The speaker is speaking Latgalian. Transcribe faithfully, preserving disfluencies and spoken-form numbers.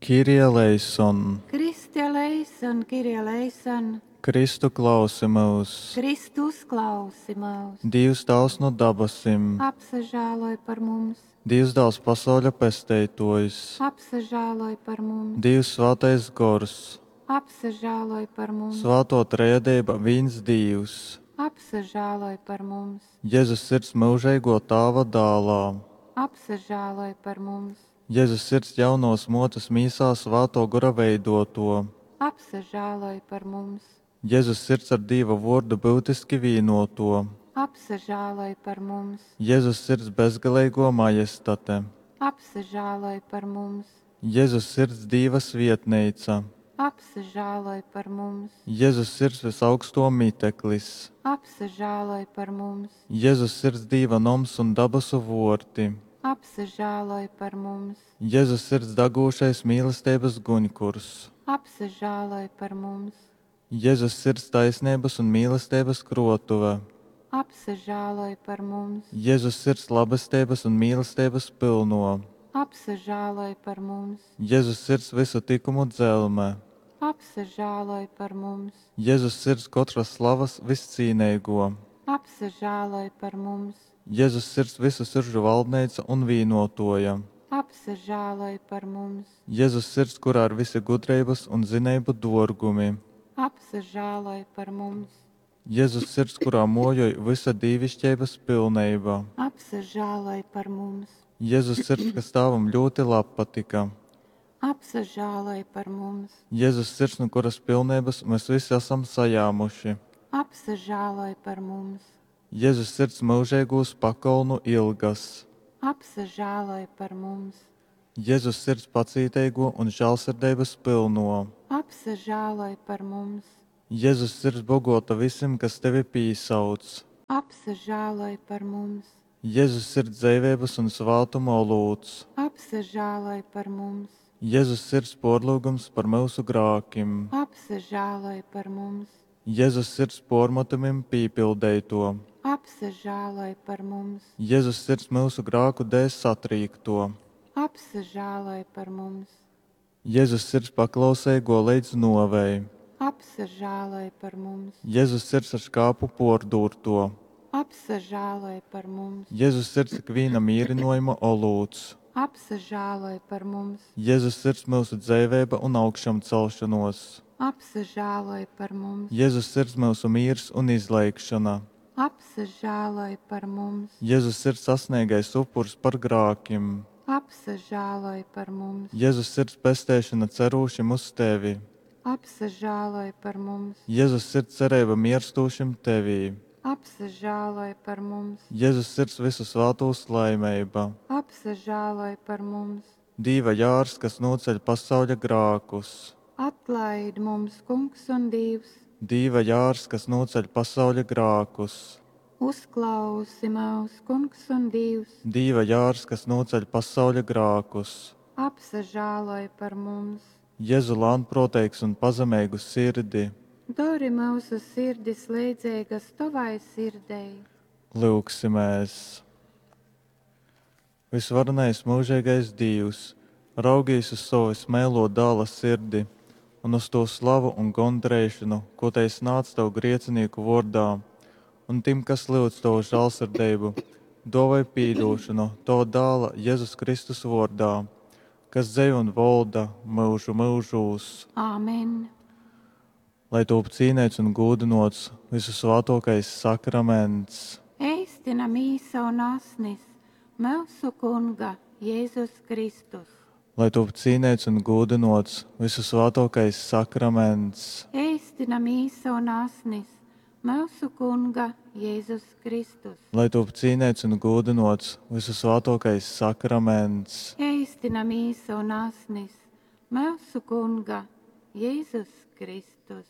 Kyrie eleison! Christe eleison, Kyrie eleison! Kristu klausi myus! Kristu uzklausi myus! Dīvs Tāvs nu dabasim! Apsažāloj par mums! Dīvs Dāls pasauļa Pesteitōjs! Apsažāloj par mums! Dīvs Svātais Gors! Apsažāloj par mums! Svātō Trejadeiba vīns Dīvs! Apsažāloj par mums! Jezus Sirds myužeigō Tāva Dālā! Apsažāloj par mums! Jezus Sirds jaunovas mōtes mīsā Svātō Gora veidōtō! Apsažāloj par mums! Jezus Sirds ar Dīva Vōrdu byutiski vīnōtō! Apsažāloj par mums! Jezus Sirds bezgaleigō Majestate! Apsažāloj par mums! Jezus Sirds Dīva svietneica! Apsažāloj par mums! Jezus Sirds vysaugstō miteklis! Apsažāloj par mums! Jezus Sirds Dīva noms un dabasu vōrti! Apsažāloj par mums! Jezus Sirds dagūšais mīlesteibas guņkurs! Apsažāloj par mums! Jezus Sirds taisneibas un mīlesteibas krōtuve! Apsažāloj par mums! Jezus Sirds labesteibas un mīlesteibas pylnō! Apsažāloj par mums! Jezus Sirds vysu tykumu dzelme! Apsažāloj par mums! Jezus Sirds kotras slavas vyscīneigō! Apsažāloj par mums! Jezus Sirds vysu siržu valdneica un vīnōtōja! Apsažāloj par mums! Jezus Sirds, kurā ir vysi gudreibas un zineibu dōrgumi! Apsažāloj par mums! Jezus Sirds, kurā mōjoj vysa dīviškeibas pilneiba! Apsažāloj par mums! Jezus Sirds, kas Tāvam ļūti labpatyka! Apsažāloj par mums! Jezus Sirds, nu kuras pilneibas mes vysi asam sajāmuši! Apsažāloj par mums! Jezus Sirds myužeigūs pakolnu ilgas! Apsažāloj par mums! Jezus Sirds pacīteigō un žālsirdeibas pylnō! Apsažāloj par mums! Jezus Sirds bogōta vysim, kas tevi pīsauc! Apsažāloj par mums! Jezus Sirds dzeiveibas un svātuma olūts! Apsažāloj par mums! Jezus Sirds pōrlyugums par myusu grākim! Apsažāloj par mums! Jezus Sirds pōrmatumim pīpildeitō! Apsažāloj par mums! Jezus Sirds myusu grāku dēļ satrīktō! Apsažāloj par mums! Jezus Sirds paklauseigō leidz nōvei! Apsažāloj par mums! Jezus Sirds ar škāpu pōrdūrtō! Apsažāloj par mums! Jezus Sirds ikvīna mīrynōjuma olūts! Apsažāloj par mums! Jezus Sirds myusu dzeiveiba un augšamcelšonōs! Apsažāloj par mums! Jezus Sirds myusu mīrs un izleigšona! Apsažāloj par mums! Jezus Sirds asneigais upurs par grākim! Apsažāloj par mums! Jezus Sirds pesteišona cerūšim uz tevi! Apsažāloj par mums! Jezus Sirds cereiba mierstūšim tevī! Apsažāloj par mums! Jezus Sirds vysu svātūs laimeiba! Apsažāloj par mums! Dīva jārs, kas nūceļ pasauļa grākus! Atlaid mums, Kungs un Dīvs! Dīva jārs, kas nūceļ pasauļa grākus! Uzklausi myus, Kungs un Dīvs! Dīva jārs, kas nūceļ pasauļa grākus! Apsažāloj par mums! Jezu lānprōteigs un pazemeigu sirdi! Dori myusu sirdis leidzeigas tovai sirdei! Lyugsimēs! Vysvarenais myužeigais Dīvs, raugīs uz sova vysmeilō Dāla sirdi un uz tū slavu un gondareišonu, kū tei snādz tev griecinīku vōrdā, un tim, kas lyudz tovu žālsirdeibu, dōvoj pīdūšonu tova Dāla Jezus Kristus vōrdā, kas dzeiv un volda myužu myužūs. Āmen! Lai tūp cīneits un gūdynōts vysusvātōkais sakraments. Eistina mīsa un asnis myusu Kunga Jezus Kristus. Lai tūp cīneits un gūdynōts vysusvātōkais sakraments. Eistina mīsa un asnis myusu Kunga Jezus Kristus. Lai tūp cīneits un gūdynōts vysusvātōkais sakraments. Eistina mīsa un asnis myusu Kunga Jezus Kristus.